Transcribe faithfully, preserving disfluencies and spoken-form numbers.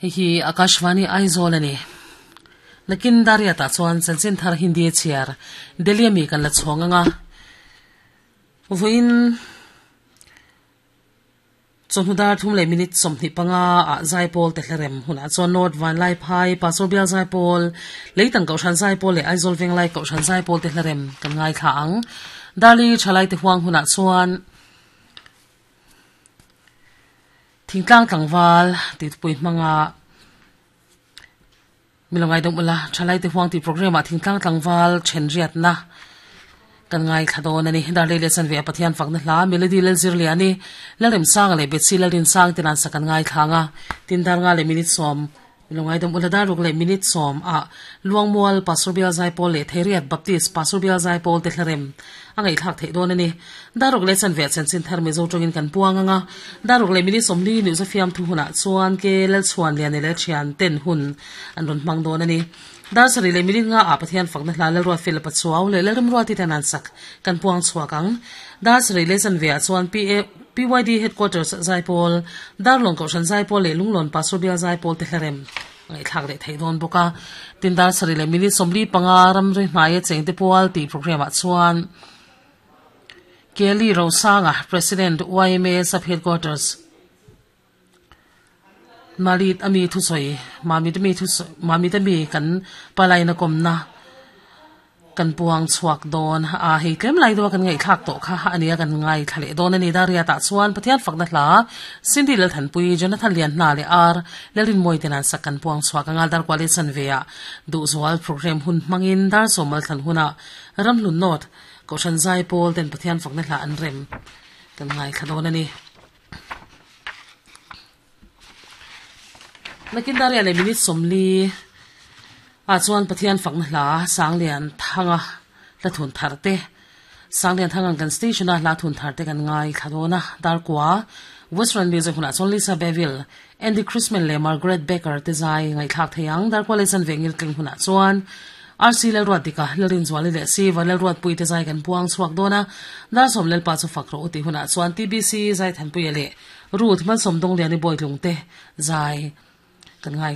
Hei hi Akashvani Aizawl ani. Nakin daria ta chuan chanchin thar Hindi chhiar Delhi ami kan la chhawng anga. Vawiin chawhnu dar thum leh minute sawmhnih panga ah Zaipawl te hlarem hunah chuan North Vanlai Phai Pastor Bial Zaipawl Leitang Kohhran Zaipawl leh Aizawl Venglai Kohhran Zaipawl te hlarem kan ngaithla ang. Darli thalai te huang hunah chuan thingtlang tlangval ti pui hmanga milongai dom ula thalai te huang ti program ah thingtlang tlangval then riat na kan ngai thladon ani. Darlei le chan ve Pathian fakna hla melody lel zir le ani lalrem sang le betsi lalrin sang tinan sakan ngai thanga tin dar nga le minute som milongai dom ula dar ruk le minute som a Luangmual Pastor Bial Zaipawl le Theriat Baptist Pastor Bial Zaipawl te hlarem angai thak thei don ani. Daruk le chan ve chan chin thar me zo tongin kan puanga daruk le minute som li ni zo fiam thu huna chuan ke lel chuan le ne le thian ten hun an ron mang don ani. Dar sari le minute nga a Pathian fakna hla le ruat fel pachuaw le le ram ruati tanan sak kan puang chuakang. Dar sari le chan ve chuan P A P Y D headquarters Zaipawl Darlong Kohhran Zaipawl le Lunglon Pastor Bial Zaipawl te hlarem ngai thak le thei don boka. Tin dar sari le minute somli panga ram ri hnaia chengte pual ti program ah chuan Kelly Rosanga President Y M A Sub Headquarters Malit ami thu soi mami mi thu mami te mi kan palai na kom na kan puang chuak don a hei tlem lai do kan ngai thak to kha ania kan ngai thale don ani. Daria ta chuan Pathian fakna hla Cindy lel thanpui Jonathan lian na le ar lelin moi tenan sak kan puang chuak angal dar kwali chan veya du zwal program hun mangin dar somal than huna Ramhlun North Kohhran Zaipawl ten Pathian fakna hla an rem kan ngai thadon ani. Nakin daria le minute somli a chuan Pathian fakna hla Sanglian thanga la thun tharte Sanglian thanga kan station a la thun tharte kan ngai thadona. Dar kwa Western Music huna chuan Lisa Beville Andy Christman le Margaret Baker te zai ngai thak theiang. Dar kwa le chan vengil tling huna chuan R C lel ruat dika lalrin zuali le si va lel ruat pui te zai kan puang chuak dona. Dar som lel pa chu fakro uti huna chuan T B C zai than pui le Ruth man som dong liani boy lung te zai kan ngai